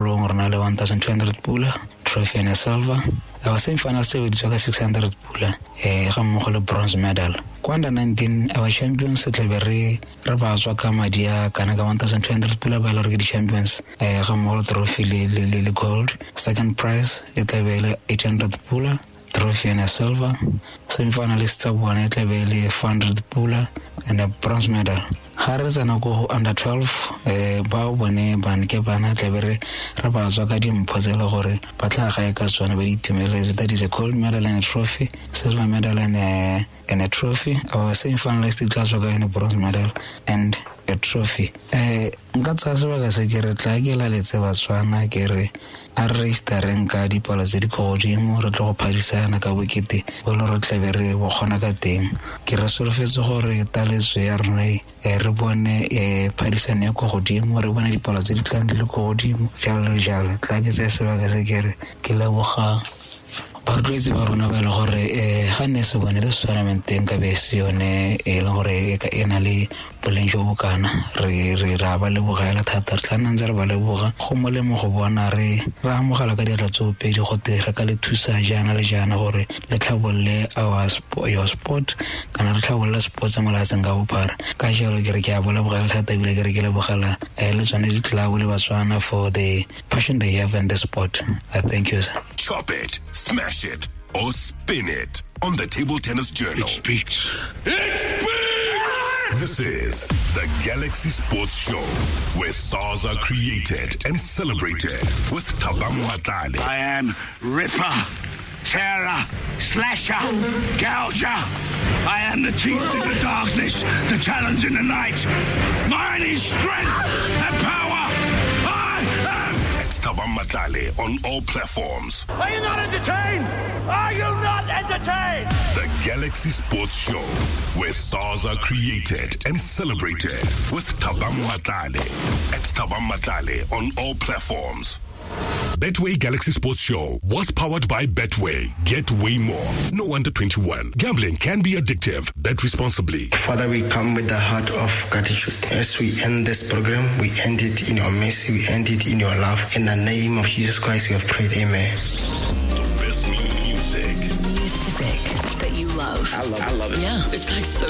Re na le 1200 pula, trophy and a silver. Our semi final se biditswa ka 600 pula, ga mmogo le bronze medal. Kwa under 19, our champions tlabe re ba tswa ka madi a kana ka 1200 pula, ba e le gore ke di-champions, ga mmogo le trophy le gold. Second prize e tlabe e le 800 pula, trophy and a silver. Semi-finalist tsa bone e tlabe e le 400 pula and a bronze medal. Ga re tsena ko under 12, bao bone bane ke bana tlabe re ba tswa ka dimpho tse e le gore ba tla gae ka tsone ba di itumeletse. That is a gold medal and a trophy, silver medal and a trophy. Our semi-finalist e tla tswa ka yone bronze medal and a trophy. Nka tsaya sebaka se ke re tla ke laletse Batswana, ke re a re registereng ka dipalo tse di ko godimo, re tlo go phadisana ka bokete bo le re tlabe re bo kgona ka teng. Ke re solofetse gore taletso ya rona re bone phadisano ya ko godimo, re bone dipalo tse di tlang di le ko godimo, jalo le jalo. Tla ke tsaya sebaka se ke re ke leboga barotloetsi ba rona ba e le gore ga nne se bone le tournament ka be se yone e leng gore e na le boleng jo bokana. Re ra ba lebogela thata, re tla nna ntse re ba leboga. Go molemo go bona re amogela ka diatla tsoopedi gote re ka le thusa jaana le jaana gore le tlhabolole our your sport, kana re tlhabolole sports mo lefatsheng ka bophara. Ka jalo ke re ke a bo lebogela thata, ebile ke re ke lebogela le tsone di-club le Batswana for the passion they have in the sport. I thank you, sir. Chop it, smash it, or spin it on the Table Tennis Journal. It speaks. It speaks! This is the Galaxy Sports Show, where stars are created and celebrated with Thabang Matlale. I am Ripper, Terror, Slasher, Gouger. I am the teeth in the darkness, the talons in the night. Mine is strength and power. I am At Thabang Matlale on all platforms. Are you not entertained? Are you not entertained? The Galaxy Sports Show, where stars are created and celebrated with Thabang Matlale. At Thabang Matlale on all platforms. Betway Galaxy Sports Show was powered by Betway. Get way more. No under 21. Gambling can be addictive. Bet responsibly. Father, we come with the heart of gratitude. As we end this program, we end it in your mercy, we end it in your love. In the name of Jesus Christ, we have prayed. Amen. The best music. Music that you love. I love it. Yeah, it's like so